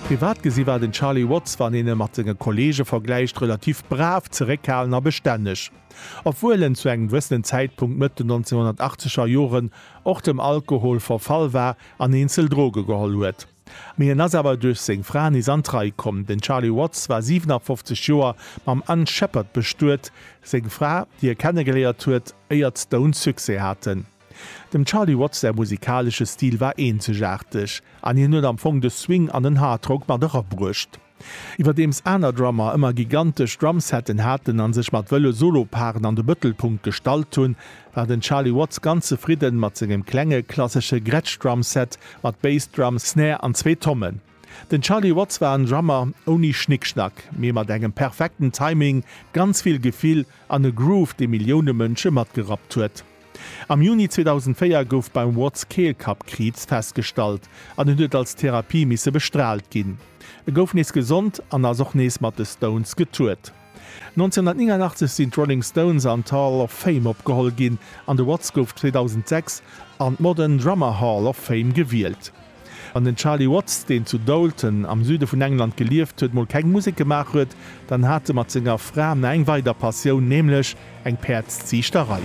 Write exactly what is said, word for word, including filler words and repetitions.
Privat gesi war den Charlie Watts, wann een e mat senge Kolleege vergläicht, relativ brav, zeréckhalen a bestänneg. Obwuel en zu engem gewëssenen Zäitpunkt Mëtt den nonzénhunnertachtzeger Joren och dem Alkohol verfall war an eenzel Droge geholl huet. Mee en ass awer duerch seng Fra nees an d'Rei komm. Den Charlie Watts war siwenafoffzeg Joer mam Ann Shepherd bestuet, seng Fra, déi e kennegeléiert huet, éier d'Stones Succès haten. Dem Charlie Watts säi musikalesche Stil war eenzegaarteg an hien huet am Fong de Swing an den Hardrock mat erabruecht. Iwwerdeems aner Drummer ëmmer gigantesch Drumsetten haten an sech mat wëlle Soloparen an de Mëttelpunkt gestallt hunn, war den Charlie Watts ganz zefridden mat sengem klenge klassesche Gretsch Drumset mat Bass Drum, Snare an zwee Tommen. Den Charlie Watts war en Drummer ouni Schnickschnack, mee mat engem perfekten Timing, ganz vill Gefill an e Groove, dee Millioune Mënsche matgerappt huet. Am Juni zweedausendvéier gouf beim Watts Keelkappkriibs festgestallt an en huet als Therapie misse bestraalt ginn. E gouf nees gesond an ass och nees mat de Stones getourt. nonzénhunnertnéngannachtzeg sinn d'Rolling Stones an d'Hall of Fame opgeholl ginn an de Watts gouf zweedausendsechs an d'Modern Drummer Hall of Fame gewielt. Wann den Charlie Watts, deen zu Doulton am Süde vun England gelieft huet, mol keng Musek gemaach huet, dann hat e mat senger Fra nach eng weider Passioun, nämlech eng Päerdsziichterei.